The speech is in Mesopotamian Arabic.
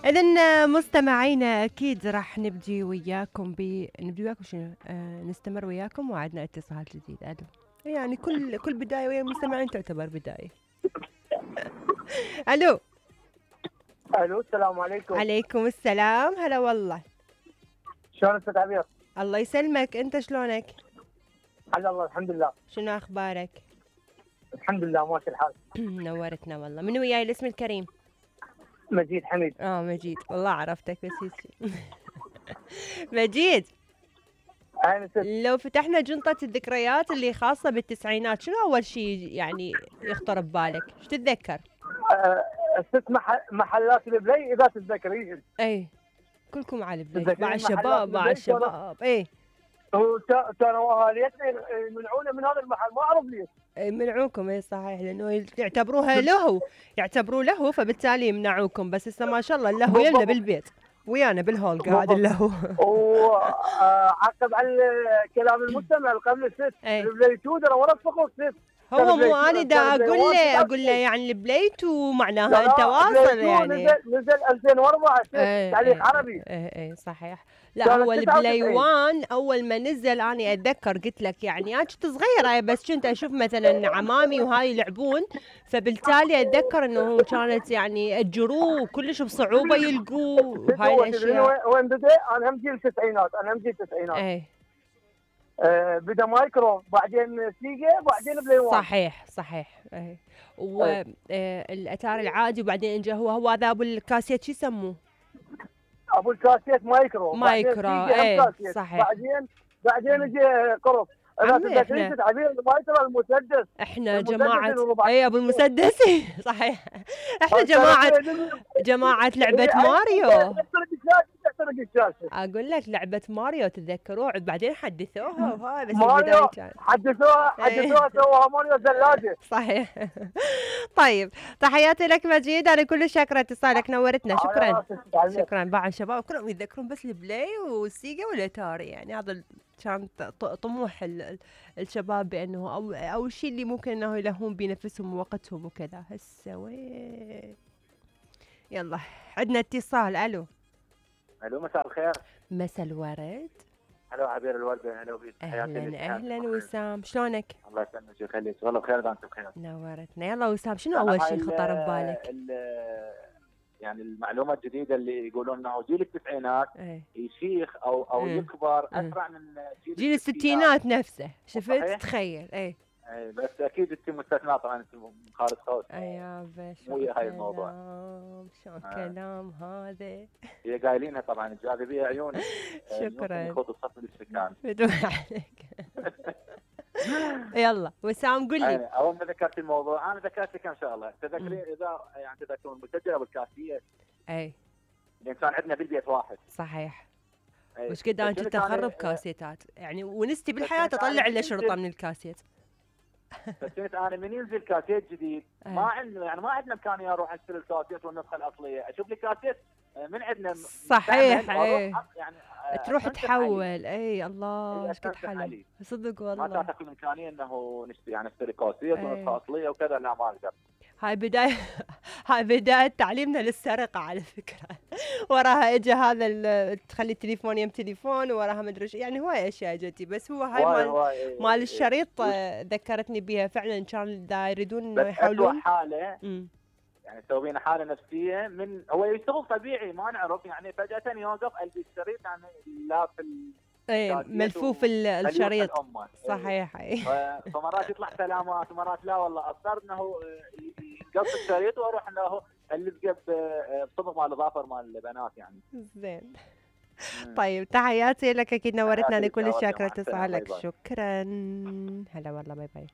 إذن مستمعينا أكيد راح نبدي وياكم شنو؟ نستمر وياكم وعدنا اتصال جديد. ألو. يعني كل بداية ويا المستمعين تعتبر بداية. ألو. الو السلام عليكم. عليكم السلام، هلا والله. شلون استاذ عبير؟ الله يسلمك، أنت شلونك؟ على الله الحمد لله. شنو أخبارك؟ الحمد لله ماشي الحال. نورتنا والله. من وياي الاسم الكريم؟ مجيد حميد. مجيد، والله عرفتك بس هيك. مجيد، لو فتحنا جنطة الذكريات اللي خاصة بالتسعينات، شنو أول شيء يعني يخطر ببالك؟ شو تتذكر؟ 6 محلات البلاي إذا تتذكرين. أي كلكم على البلاي مع الشباب أي. وكانوا أهاليتنا يمنعونا من هذا المحل، ما أعرف ليش. يمنعوكم اي صحيح، لانه يعتبروه له فبالتالي يمنعوكم، بس هسه ما شاء الله اللهو يلنا بالبيت ويانا بالهول قاعد اللهو. وعقب على كلام المستمع قبل الست البلاي 2 ترى ورا الصخور ست. هو مو انا دا اقول له يعني البلاي 2 معناها انت واصل يعني. نزل 2004 تعليق عربي. اي صحيح. لا هو البلاي 1 اول ما نزل انا اتذكر قلت لك يعني انا كنت صغيره بس كنت اشوف مثلا عمامي وهاي يلعبون، فبالتالي اتذكر انه كانت يعني اجروه كلش بصعوبه يلقوه هاي الاشياء. وين بدا؟ انا هم جيل التسعينات، اي بدا مايكرو بعدين سيجا بعدين بلاي 1. صحيح اي. والاتاري العادي وبعدين اجى هو هذا ابو الكاسيت شو يسموه؟ ابو الكاسيت مايكرو اي صحيح. بعدين اجى قرص. اذا تتذكرين تعبير المايكرو المسدس. احنا جماعه اي ابو المسدس. صحيح. احنا جماعه لعبه ماريو. اقول لك لعبه ماريو تتذكروه؟ بعدين حدثوها وهاي بس البدايه كانت حدثوها سووها ماريو ثلاجه. صحيح. طيب تحياتي لك مجيد، انا كلش شاكره اتصالك، نورتنا. شكرا. بعد الشباب كلهم يتذكرون بس البلاي والسيجا والاتاري، يعني هذا كان طموح الشباب بانه او الشيء اللي ممكن انه يلهون بنفسهم ووقتهم وكذا. هسه وين يلا عندنا اتصال. الو مساء الخير. مساء الورد. هلا عبير الوردة. هلا بيك. اهلا وسام، شلونك؟ الله يسلمك ويخليك، والله بخير اذا انت بخير. نورتنا. يلا وسام، شنو اول شيء خطر ببالك؟ يعني المعلومه الجديده اللي يقولون انه جيل التسعينات يشيخ او يكبر اسرع من جيل الستينات نفسه. شفت؟ تخيل. اي بس اكيد انت مستثنى طبعا، انت خالد خوت. يابا مو هاي الموضوع. شلون كلام هذا؟ هي قايلينها طبعا الجاذبيه عيوني. شكرا. يخوض الصف الاستكان. بدون عليك. يلا وسام قل لي. اول ما ذكرت الموضوع انا ذكرت لك ان شاء الله تذكرين اذا يعني تذكرون المسجل ابو الكاسيه. اي لان كان عندنا بالبيت واحد. صحيح. وش قد انا كنت اخرب كاسيتات يعني، ونستي بالحياه اطلع له شرطه من الكاسيت. فكنت انا من ينزل كاسيت جديد ما عندنا يعني ما عندنا امكانيه اروح اشتري الكاسيت والنسخه الاصليه، اشوف لي كاسيت من عندنا. صحيح. اي يعني تروح تحول. اي الله ايش قد حلو صدق والله. ما تعطيك الامكانيه انه نشتري كاسيت ونسخه اصليه وكذا، لا ما اقدر. هاي بداية تعليمنا للسرقة على فكرة. وراها اجى هذا تخلي التليفون يم تليفون، وراها مدري يعني هواي اشياء جتي، بس هو هاي مال الشريط ذكرتني بها فعلا. كان دا يريدون انه يحاولون حالة يعني سوينا حالة نفسية من هو يشتغل طبيعي ما نعرف يعني فجأة يوقف قلبي الشريط يعني لا في ملفوف الشريط. صحيح. فمرات يطلع سلامات ومرات لا والله اضطر انه يقص الشريط واروح انه الزقه بصبغ مال الاظافر مال البنات يعني. زين. طيب تحياتي لك، اكيد نورتنا. انا كل شاكره اتصالك. شكرا. هلا والله. باي باي.